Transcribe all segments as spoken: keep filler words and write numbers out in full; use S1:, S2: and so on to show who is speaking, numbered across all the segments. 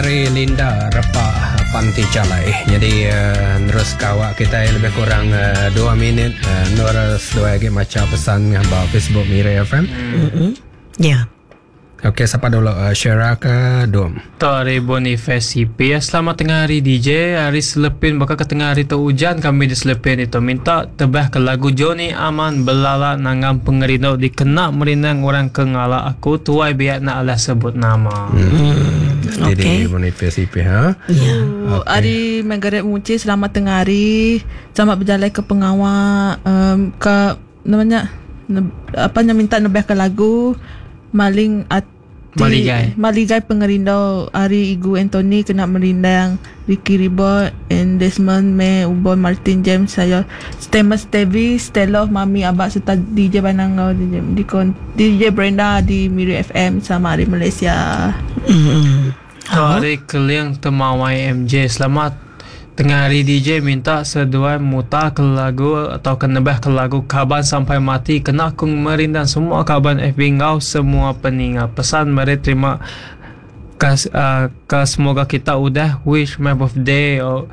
S1: Ari Linda Repa Panti Jalai. Jadi uh, terus kawak kita lebih kurang uh, dua minit uh, Nur seduai lagi maca pesan ba Facebook Miri F M.
S2: Mm-hmm. Ya. Yeah.
S1: Okey, siapa dulu? Uh, Shera ke Dom?
S3: Tu hari Boniface C P. Selamat tengah hari D J. Hari Selepin bakal ke tengah hari tu hujan kami di Selepin itu. Minta tebah ke lagu Johnny Aman Belala Nanggam Pengerindu dikena merindang orang ke ngalak aku tuai biak nak alah sebut nama.
S1: Hmm. Jadi okay. Boniface C P ha.
S2: Ya.
S4: Yeah. Okay. Hari Margaret Muci, selamat tengah hari. Selamat berjalan ke pengawal um, ke namanya ne, apa yang minta nebah ke lagu Maling Ati
S3: Maligai
S4: Maligai Pengerindu Ari Igu Anthony kena merindang Ricky Ribot and Desmond May Ubon Martin James saya Stemus Stevie Stella Mami Abak serta D J Banangau D J, D J Brenda di Miri F M sama hari Malaysia.
S2: Mm-hmm.
S3: Hari Keliang Temawai M J, selamat tengah hari D J, minta seduai muta ke lagu atau kenebah ke lagu Kaban Sampai Mati kena aku merindang semua kaban F B ngau semua peninga pesan mari terima kas, uh, ke semoga kita udah wish my birthday oh.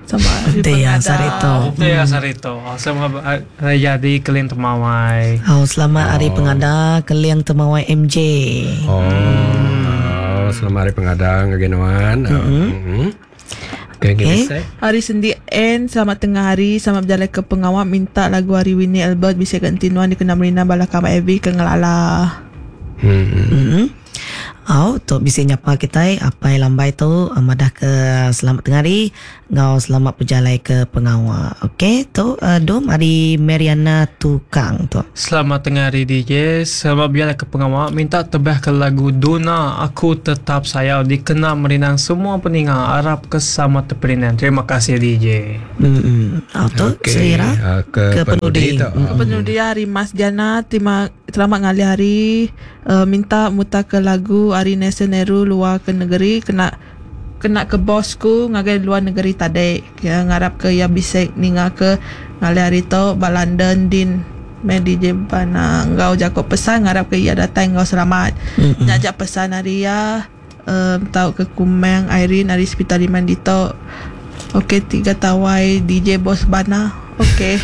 S4: Sama hari
S2: Dea Sarito.
S3: Dea Sarito. Selamat hari jadi Keliang Temawai.
S2: Oh, selamat hari pengada Keliang Temawai M J.
S1: Oh, hmm. Selamat hari pengada ngagenuan. Mm-hmm. Mm-hmm. Okay, okay.
S4: Hari Sendi N, selamat tengah hari, selamat berjalan ke pengawal, minta lagu hari Winnie Albert bisa ganti nuan dikena merina bala kamar Evi ke ngelala.
S1: Hmm.
S2: Mm-hmm. Oh, tu bisa nyapa kita apa yang lambai tu madah ke selamat tengah hari ngau selamat berjalan ke pengawal. Okey, tu uh, dom hari Mariana Tukang tu.
S3: Selamat tengah hari D J, selamat berjalan ke pengawal, minta tebah ke lagu Duna Aku Tetap Sayau dikena merinang semua peninga Arab ke sama teperinan. Terima kasih D J.
S2: Hmm. Oh, tu
S1: okay.
S2: Selera
S1: uh, ke, ke penudi.
S4: Ke penudi hari Mas Jana, terima selamat ngalih hari uh, minta muta ke lagu hari Nelson Nehru luar ke negeri kena kena ke bosku ngagai luar negeri tadi ya, ngarap ke ya bisa ninga ke ngalih hari tu ba London din me D J bana ngau Jacob pesan ngarap ke ia datang ngau selamat. Mm-hmm. Nyajak pesan hari ya um, tau ke Kumang Irene hari Hospital Iman Dito. Okey, tiga tawai D J bos bana. Okey.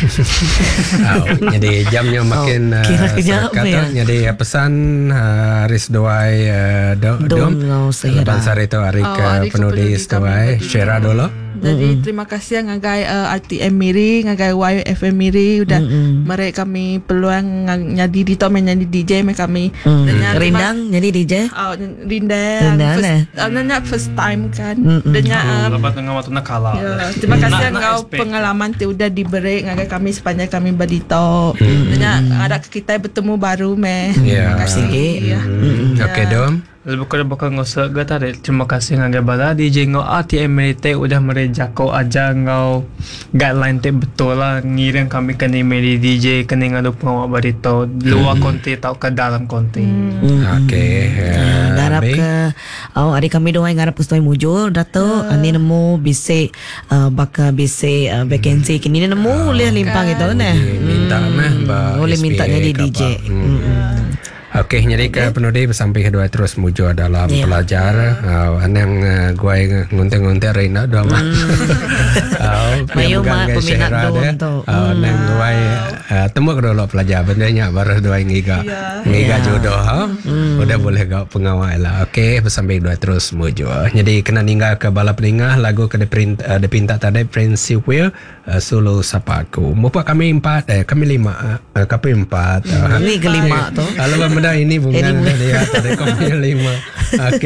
S1: Oh, jadi jamnya makin
S2: oh, kira uh,
S1: kata ya. Jadi pesan uh, Aris Doai uh, do, Dom Lepas hari itu hari
S4: oh,
S1: ke penudi Doai share dulu.
S4: Jadi mm-hmm. terima kasih ngagai uh, R T M Miri, ngagai Y F M Miri udah mm-hmm. mereka kami peluang nyadi di to menjadi D J me kami.
S2: Mm. Rindang jadi D J?
S4: Oh, rindang.
S2: Rindang
S4: first,
S2: eh.
S4: uh, nanya first time kan.
S2: Mm-hmm.
S4: Denya
S3: um, lepas tengah waktu nak kalah.
S4: Ya, terima kasih ngau pengalaman ti udah diberi ngagai kami sepanjang kami berdito.
S1: Mm-hmm.
S4: Denya ada kita bertemu baru me.
S1: Yeah.
S4: Terima kasih.
S2: Ya.
S1: Mm-hmm. Okey, Dom.
S3: Lebih kurang bakal ngosok ke tarik. Terima kasih ngagai bala D J ngau R T M Merite udah merejako aja ngau guideline te betul lah ngiring kami kena meri D J kena ngadu pengawal barito luar hmm. konti atau ke dalam konti.
S2: Hmm.
S1: Okey.
S2: Uh, ngarap ke oh hari kami doa ngarap ke mujur dato uh. ani nemu bisi uh, bakal bisi uh, vacancy kini nemu uh. boleh limpang itu nah.
S1: Minta mah
S2: boleh minta jadi D J.
S1: Hmm. Hmm. Okey, jadi ke penudi bersampai kedua terus muju dalam yeah. pelajar. Uh, anang uh, guai ngunting-ngunting Rina dua mah.
S2: Mayu mah peminat dom tu.
S1: Anang guai temu ke dulu pelajar bendanya baru dua ngiga. Ngiga jodoh ha. Udah boleh gak pengawal lah. Okey, bersampai dua terus muju. Jadi kena ninggal ke bala peningah lagu ke dipinta, dipinta tadi Prince Will uh, Solo Sapaku. Mupa kami empat eh kami lima uh, kami empat.
S2: Ini kelima tu.
S1: Kalau ini bunga dia tadi kami lima. Okey.